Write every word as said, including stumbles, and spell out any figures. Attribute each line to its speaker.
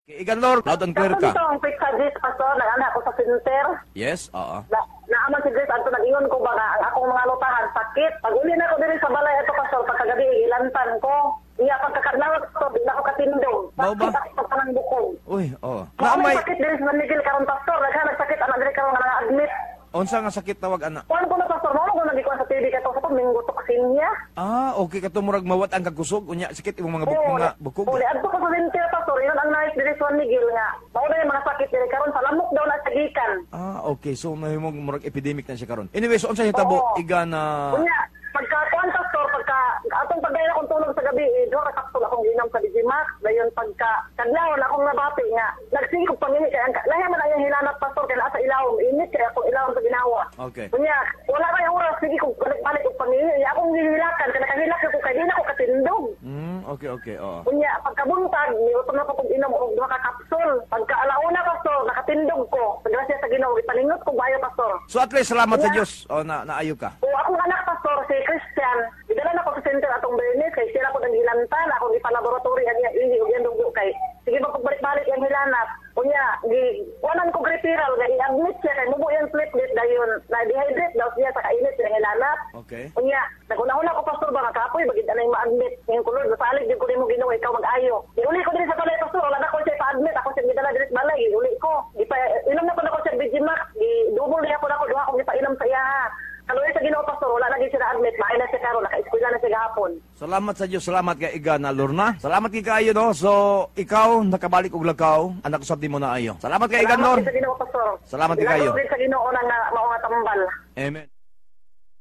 Speaker 1: Kay Igan Lor, loud and clear ka.
Speaker 2: Kato ang pizza Grace, Pastor, nag-ana ko sa center.
Speaker 1: Yes, oo.
Speaker 2: Na, naaman si Grace, adto nag-ingon ko ba nga, ang akong mga lutahan, sakit. Pag uli na ko diri sa balay, ito, Pastor, pagkagabi, ilantan ko. Iya, pagkakadlawat, Pastor, di na ako katindog.
Speaker 1: Mao ba?
Speaker 2: Sakit ako kanang bukog.
Speaker 1: Uy, oo.
Speaker 2: Mao
Speaker 1: Na
Speaker 2: may
Speaker 1: may
Speaker 2: sakit diri sa San Miguel karon Pastor, daghan nagsakit anak diri karon nga na-admit.
Speaker 1: Unsa nga sakit tawag ana?
Speaker 2: Kuan ko na Pastor, mao ko nagikuan sa T V kato sa to minggo toksinya.
Speaker 1: Ah, okay kato murag mawat ang kagkusog unya sakit imong mga buk mga bukog.
Speaker 2: Oo, adto ko sa center Pastor, ingon ang nurse diri sa San Miguel nga. Mao na yung mga sakit diri karon sa lamok daw na sa gikan.
Speaker 1: Ah, okay. So mahimong murag epidemic na siya karon. Anyway, so unsa hitabo
Speaker 2: Oo.
Speaker 1: Iga na
Speaker 2: Unya, pagka kuan Pastor, pagka atong pagdayon akong tulog sa gabi, eh, duha ka kapsul akong ginom sa Digimax. Dayon pagka kadlawon akong nabati nga nagsige kog pangihi kay ang lahi man ang hilanat Pastor kay naa sa ilawom, init kay akong ilawom sa ginawa.
Speaker 1: Okay.
Speaker 2: Unya, wala kay oras sige kog balik-balik og pangihi. Akong gihilakan kay nakahilak ko kay di na ko katindog.
Speaker 1: Mm, okay, okay. Oo.
Speaker 2: Unya, pagkabuntag, niutom na ko kog inom og duha ka kapsul. Pagka alauna Pastor, nakatindog ko. Grasya sa Ginoo, ipaningot ko bayo Pastor.
Speaker 1: So at least salamat sa
Speaker 2: Unya.
Speaker 1: Dios. Oh, na naayo ka.
Speaker 2: O akong anak pastor si Christian, gidala na ko sa center atong Bernice kay siya ko nang hilantan, akong ipalaboratory ang iyang ihi ug iyang dugo kay sige ba pagbalik-balik ang hilanat. Unya, gi kuanan ko referral nga i-admit siya kay mubo iyang platelet dayon na dehydrate daw siya sa kainit sa hilanat.
Speaker 1: Okay.
Speaker 2: Unya, nagunahuna ko pastor ba nga kapoy bagid anay ma-admit ngayong kulod masalig jud ko nimo Ginoo ikaw mag-ayo. Giuli ko diri sa balay pastor, wala na ko siya pa-admit, ako siya gidala diri sa balay, giuli ko. Gipa inom na ko nako siya Bigimax, gi double niya ko nako duha akong gipainom sa iya. Kaluoy sa Ginoo pastor, wala na gid siya na-admit, maayo na siya karon, naka-eskwela na siya gahapon.
Speaker 1: Salamat sa Dios, salamat kay Iga na Lorna. Salamat kay kaayo no. So ikaw nakabalik og lakaw, anak usab nimo na ayo. Salamat kay Iga
Speaker 2: Salamat
Speaker 1: Lor.
Speaker 2: gid sa Ginoo pastor.
Speaker 1: Salamat kay kayo.
Speaker 2: Salamat sa Ginoo nang mao nga tambal.
Speaker 1: Amen.